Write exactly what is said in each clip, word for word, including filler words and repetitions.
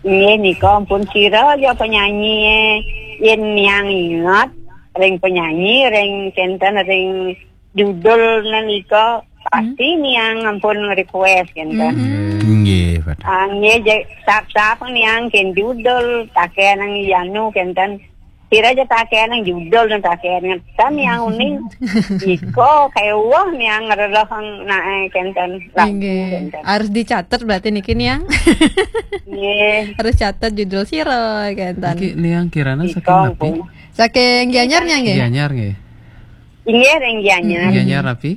Nggih, nika ampun sira aja penyanyi, eh. Yen niang inget ring penyanyi, ring kenten, ring judul nika, pasti niang ampun request kenten. Nggih, Pak. Ah, nggih, je-, sap-sap niang ken judul, taken nang yanu kenten. Sira aja taken nang judul, nang taken ngetan niang uning. Iko kewah niang ngerelehang nae kenten. Lagu kenten. Harus dicatet berarti niki niang. Nggih. Harus catet judul sira kenten. Niki niang kirana saking Iko napi? ampun. Saking Gianyar niang nggih? Gianyar nggih. Inggih ring Gianyar. Gianyar napi?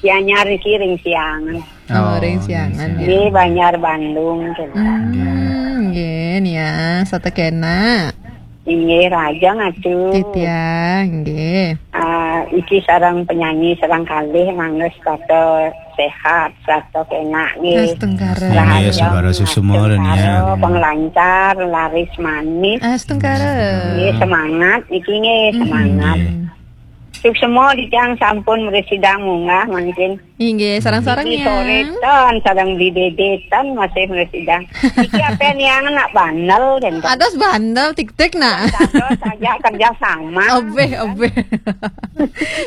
Gianyar iki ring Siangan. Oh, ring Siangan, Siangan. ya. Nggih, Banjar Bandung kenten. Hmm, nggih niang, satekena. Inggih, rahajeng atuh. Titiang, nggih. Ah, iki sareng penyanyi sareng kalih mangga setata sehat, setata kenak nggih. Astungkara. Rahajeng, Nggih, saudara suksema, astungkara, niang. Penglancar, laris manis. Astungkara. Nggih, semangat iki nggih, semangat. Nggih. Suksema dijang sampun mresidang munggah mangkin. Inggih, sareng-sareng Iki niang. soretan, sareng beli dedetan masih mresidang. Iki apa niang nak bandel dan Ados bandel tik-tik nak. Terus saja kerja sama. Obeh, obeh.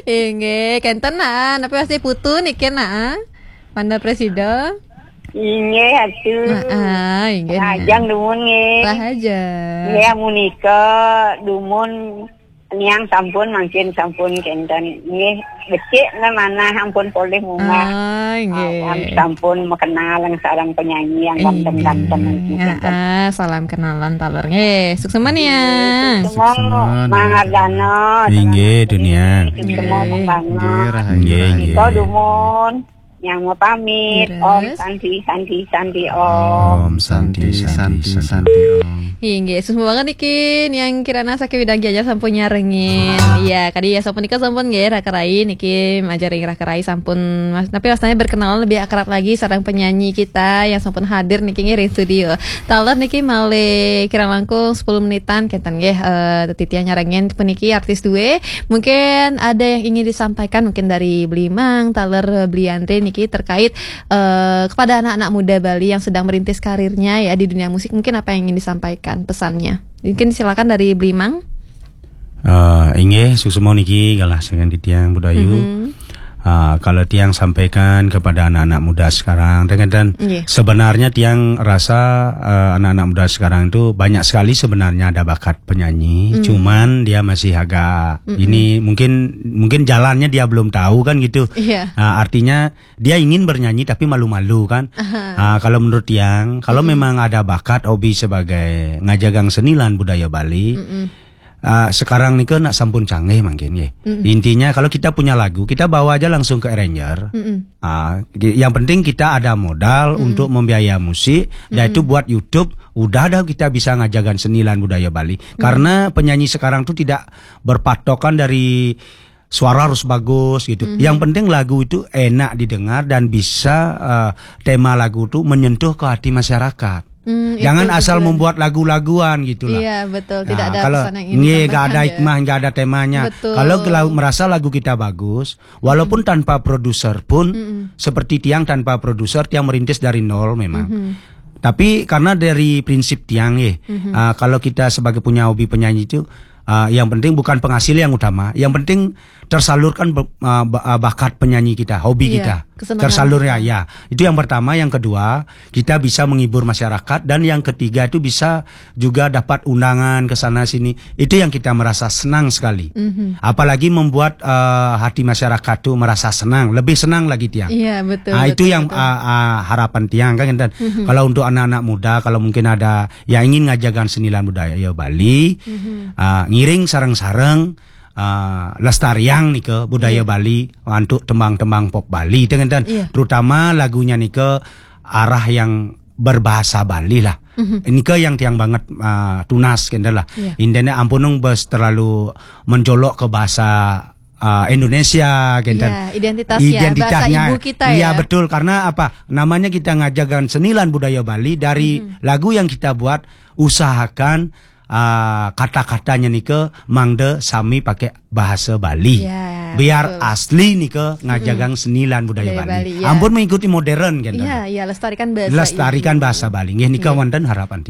Inggih, kenten nah, tapi masih putu niki nah. Bandel presida. Inggih atuh. Nah, ah, inggih. Nah. Rahajeng dumun nggih. Rahajeng. Nggih, munika dumun niang sampun mangkin sampun kenten. Nggih, becik nah manah ampun polih munggah. Ah, Awan inggih. Sampun makenal yang sareng penyanyi yang ganteng-ganteng Inggih. niki Ya, kenten. Ah, salam kenalan taler nggih. Suksema niang. Semua mangardana. Inggih, dunia. Semua Inggih. mangardana. Nggih, rahayu. Nggih, Kita nggih. dumun yang mau pamit. Terus? Om Santi, Santi, Santi, Om. Om Santi, Santi, Santi, Om. Inggih, suksma banget niki niang kirana saking Widang Gianyar sampun nyarengin. Iya, kadi ya sampun nika sampun nggih Raka Rai niki majaring Raka Rai sampun mas, tapi rasanya berkenalan lebih akrab lagi sareng penyanyi kita yang sampun hadir niki nggih ring studio. Taler niki malih kirang langkung sepuluh menitan kenten nggih eh titiang nyarengin puniki artis due. Mungkin ada yang ingin disampaikan mungkin dari Beli Mang, taler Beli Andre niki terkait eh kepada anak-anak muda Bali yang sedang merintis karirnya ya di dunia musik, mungkin apa yang ingin disampaikan pesannya? Mungkin silakan dari Beli Mang. Uh, inggih, suksma niki galah saking titiang Budayu. Uh, kalau tiang sampaikan kepada anak-anak muda sekarang, dengan dan Nggih. Sebenarnya tiang rasa uh, anak-anak muda sekarang itu banyak sekali sebenarnya ada bakat penyanyi, cuman dia masih agak ini mungkin mungkin jalannya dia belum tahu kan gitu. Iya. Uh, artinya dia ingin bernyanyi tapi malu-malu kan. Uh, kalau menurut tiang, kalau memang ada bakat hobi sebagai ngajagang seni lan budaya Bali, uh, sekarang nika nak sampun canggih mungkin nggih. Intinya kalau kita punya lagu, kita bawa aja langsung ke arranger. Uh, yang penting kita ada modal untuk membiayai musik, dan itu buat YouTube, udah dah kita bisa ngajagang seni lan budaya Bali. Karena penyanyi sekarang tuh tidak berpatokan dari suara harus bagus gitu. Yang penting lagu itu enak didengar dan bisa uh, tema lagu itu menyentuh ke hati masyarakat. Hmm, Jangan itu asal betul. membuat lagu-laguan gitulah. Iya, betul. Tidak Nah, ada kalau pesan yang ingin nggih, nggak ada disampaikan, ya. Hikmah, nggak ada temanya. Betul. Kalau lagu, merasa lagu kita bagus, walaupun tanpa produser pun, seperti tiang tanpa produser, tiang merintis dari nol memang. Tapi karena dari prinsip tiang, ya, uh, kalau kita sebagai punya hobi penyanyi itu, uh, yang penting bukan penghasil yang utama, yang penting tersalurkan be- uh, ba- uh, bakat penyanyi kita, hobi Iya, kita, kesenangan tersalur ya, kita. Ya. Itu yang pertama. Yang kedua, kita bisa menghibur masyarakat, dan yang ketiga itu bisa juga dapat undangan ke sana sini. Itu yang kita merasa senang sekali. Apalagi membuat uh, hati masyarakat tuh merasa senang, lebih senang lagi tiang. Iya, betul. Ah, itu Betul, yang betul. Uh, uh, harapan tiang kan, Intan. Kalau untuk anak-anak muda, kalau mungkin ada yang ingin ngajagang seni lan budaya Bali, uh, ngiring sareng-sareng uh, lestariang nika budaya Bali untuk tembang-tembang pop Bali, itu kan, Intan. Iya. Terutama lagunya nika arah yang berbahasa Bali lah. Nika yang tiang banget uh, tunas kenten lah. Iya. Indene ampunung bes terlalu menjolok ke bahasa uh, Indonesia kenten. Iya, identitas ya, bahasa ibu kita ya. Iya, betul, karena apa? Namanya kita ngajagang seni lan budaya Bali, dari lagu yang kita buat, usahakan uh, kata-katanya nika mangda sami pakai bahasa Bali. Ya, Biar betul. Asli nika ngajagang seni lan budaya Budaya Bali. Bali, ya. Ampun mengikuti modern kenten. Iya, iya, lestarikan bahasa Lestarikan ibu. Bahasa Bali. Nggih, nika wonten harapan